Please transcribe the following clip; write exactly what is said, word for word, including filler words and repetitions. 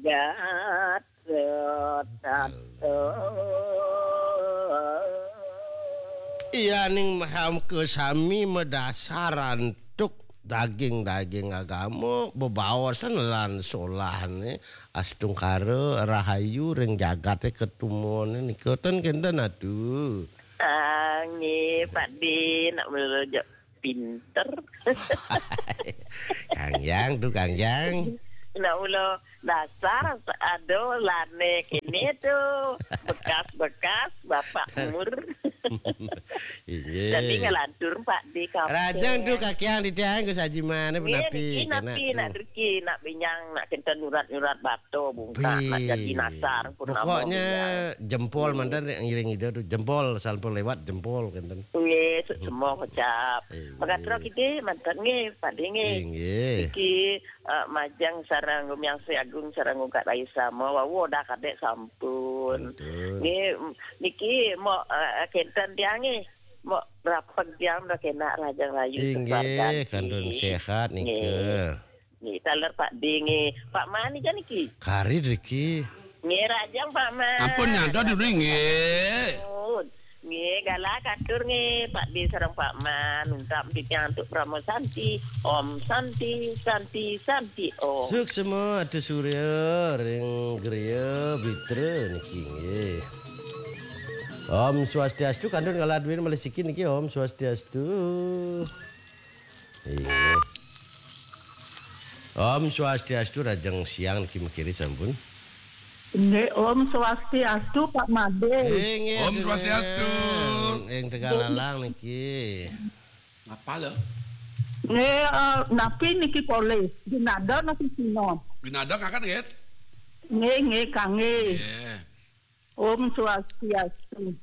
Gatot Kaca. Iya ning maham ke sami madasar antuk daging-daging agama, bebaosan lan solahne astungkara rahayu ring jagate katumone nika ten kenten atu. Ah, nggih, Pak De, nak mula pinter. Kang Yang tu, Kang Yang. Nak mula dasar ada lane kene tu. Bekas-bekas bapak umur. Inggih. Jadi ngelantur Pak De kape. Rajang tu kakiang di tiang ku saji mana pun. Nggih, api niki kena. Napi nak derki, nak binyang, nak kenten nyurat-nyurat bato bungkak, nak jadi nasar pun. Pokoknya jempol mantan ngiring ida tu, jempol sampun lewat jempol kenten. Nggih, semua kocap. Inggih. Makatro kite mantan nggih, Pak De nggih. Inggih. Iki eh, majeng sareng Gumiwang Sri Agung sareng Ungkat Rayu Sama wau dah kadek sampun. Betul. Nggih, niki mau eh, kenten tiang nggih. Mau rapet tiang dah kena rajang rayu. Inggih, kantun sehat nika. Nggih, taler Pak De nggih. Pak Man nika niki. Kari driki. Nggih, rajang Pak Man. Ampun nyadon dulu nggih. Ampun. Nggih, galak katur nggih, Pak De sareng Pak Man, ungkap titiang antuk Parama Santi. Om Santi, Santi, Santi, Om. Suksma Atu Surya ring griya Bitra niki nggih. Om Swastiastu, kantun kala duwin malih siki niki, Om Swastiastu. Inggih. Om Swastiastu, rajang siang niki makiri sampun. Nggih, Om Swastiastu, Pak Made. Inggih, Om Swastiastu. Ring Tegallalang niki. Ngapa lho? Nggih, eh, napi niki polih? Ginada napa Cina? Ginada kakak nggih. Nggih, nggih, kangge. Nggih. Om Swastiastu.